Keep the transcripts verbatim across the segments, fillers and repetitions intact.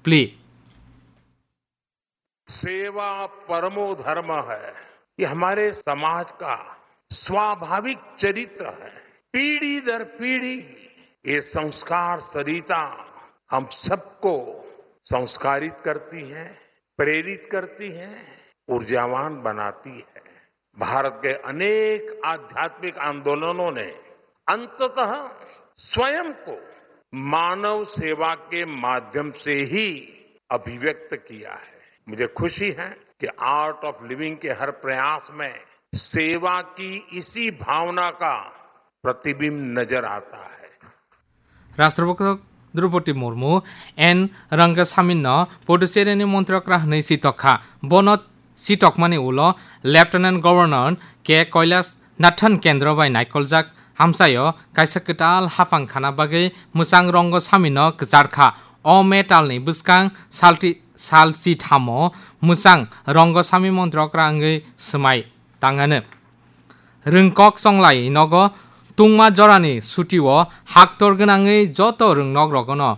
plea. सेवा परमो धर्म है। ये हमारे समाज का स्वाभाविक चरित्र है। पीढ़ी दर पीढ़ी ये संस्कार सरिता हम सबको संस्कारित करती है, प्रेरित करती है, ऊर्जावान बनाती है। भारत के अनेक आध्यात्मिक आंदोलनों ने अंततः स्वयं को मानव सेवा के माध्यम से ही अभिव्यक्त किया है। मुझे खुशी है कि आर्ट ऑफ लिविंग के हर प्रयास में सेवा की इसी भावना का प्रतिबिंब नजर आता है। Rashtrapati Droupadi Murmu N Rangasamino Puducherry ni montri okra hwnwi sitok kha. Bono sitokmani ulo Lieutenant Governor K Kailash Nathan kendro bai naikoljak hamsaio kaisa kwtal haphang khana bagwi mwchang Rangasamino kwchar kha. O metal ni bwskang salti-, salchi thamo mwchang Rangasami montri okra wngwi swmai tangano. Rwngkok chonglai nogo tungma jorani sutio haktor gwnangwi joto rwngnok rogono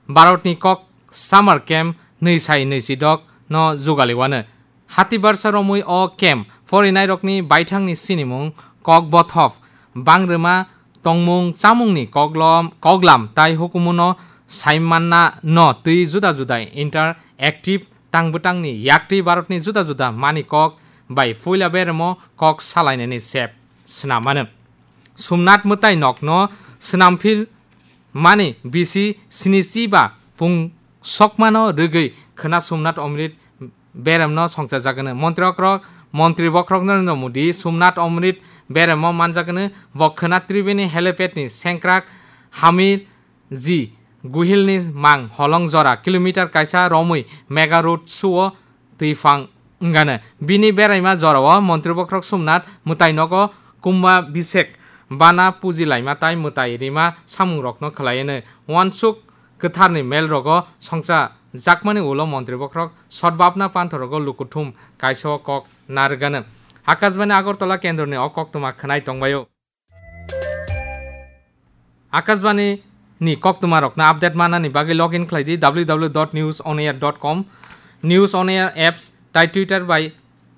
Bharatni kok summer camp nwi sai nwi sidok no jugali wano. Hati barsa romwi o camp porinairokni baithangni sinimung, kok bothop, bangrwma, tongmung chamungni koglom, koglam tai hukumuno saimanna no twi juda juda interactive tang bwtangni yaktwi Bharatni juda juda mani kok bai puila beremo kok salainani sep swnam mano. Somnath mwtai nokno swnamphil mani bisi sinichi ba pung sokmano rwgwi khwna Somnath Omrit beremno songchajagano. Montri okrok, Montri bokhorok Narendra Modi Somnath Omrit beremo manjagano. Bo khwna Tribeni helipad ni sengkrak Hamir ji Guhilni mang holong jora kilometer kaisa romwi mega road show o twi phang wngano. Bini beraima jorao Montri bokhorok Somnath mwtai nogo Kumbhabhishek bana puji laima tai mwtai rima samungrokno khlaiano. Uansuk kwtharni melrogo songcha jakmani ulo Montri bokhorok sotbapna panthorogo lukuthum kaisa o kok narwgano. Akashbani Agartala kendroni o koktwma khwnai tongbaio. Akashbani ni koktwma rokno update manani bagwi login khlai di w w w dot news on air dot com, News on Air apps tai Twitter bai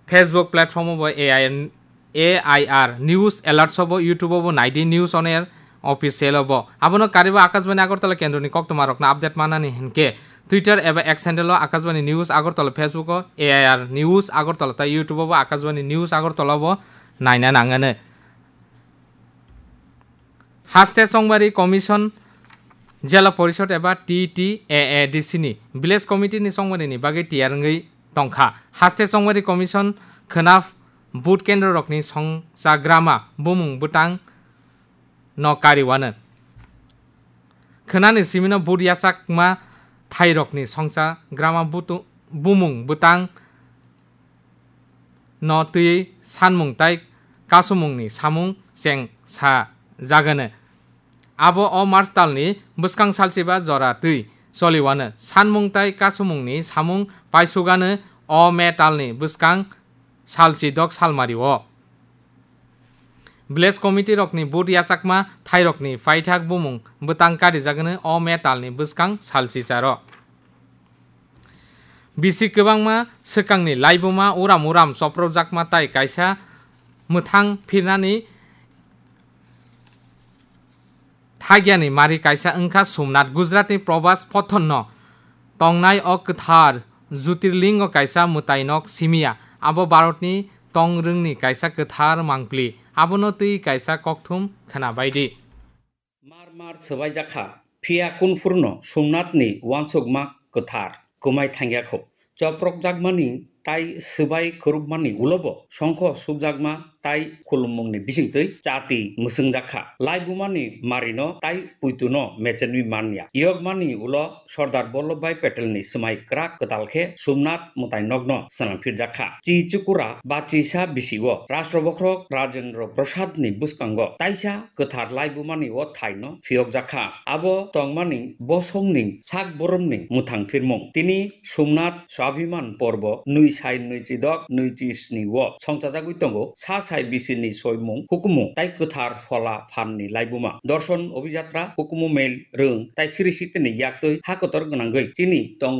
Facebook platform o bo A I R, A I R News Alerts o bo, YouTube o bo nai di News on Air Official o bo. Abono karibo Akashbani Agartala kendroni koktwma rokno update manani hinkhe Twitter eba X handle o Akashbani News Agartala, Facebook o A I R News Agartala tai YouTube o bo Akashbani News Agartala o bo naina nangano. Haste Chongmari Commission Jela Porishod eba T T A A D C ni Village Committee ni chongmari ni bagwi tiyar wngwi tongkha. Haste Chongmari Commission khwna vote kendro rokni songcha grama bumung bwtang no kariwano. Khwnani simino vote yachakma thairokni songcha grama butu-, bumung bwtang no twi sanmung tai kasumungni samung cheng sa jagano. Abo o March talni bwskang salchiba jora twi choliwano. Sanmung tai kasumungni samung paisugano o May talni bwskang salchi dok salmario. Village committee rokni vote yachakma thairokni paithak bumung bwtang karijagano o May talni bwskang salchicharo. Bisi kwbangma swkangni laibuma uram uram chopropjakma tai kaisa mwthang phirnani thagyani mari kaisa wngkha Somnath. Gujaratni Prabhas Pathonno tongnai o kwthar Jyotirlingo kaisa mwtainok simiya. Abo Bharatni tongrwngni kaisa kwthar mangpli. Abono twi kaisa kokthum khwna bai di. Mar mar swbaijak kha, phiya kunphurno Somnathni uansukma kwthar kwmai thangya kho. Choprokjakmani tai swbai khurupmani ulobo songkho sukjakma tai khulummungni bisingtwi chati mwswngjak kha. Laibumani marino tai puituno mechenwi manya. Yokmani ulo Sardar Vallabhbhai Patelni swmai kwrak kwtal khe Somnath mwtainokno swnamphirjak kha. Chi chukura ba chisa bisio Rashtra Bokhorok Rajendra Prasadni bwskango taisa kwthar laibumani o thaino phiyokjak kha. Abo tongmani bosongni sak boromni mwthang phirmung. Tini Somnath Swabhiman Porbo nwi sai nwi chidok nwi chi sni o songchajagwi tongo sa sai bisini soimung hukumu tai kwthar phola phanni laibuma. Dorson Obhijatra hukumu mel rwng tai siri sitini yaktwi ha kotor gwnangwi chini tongo.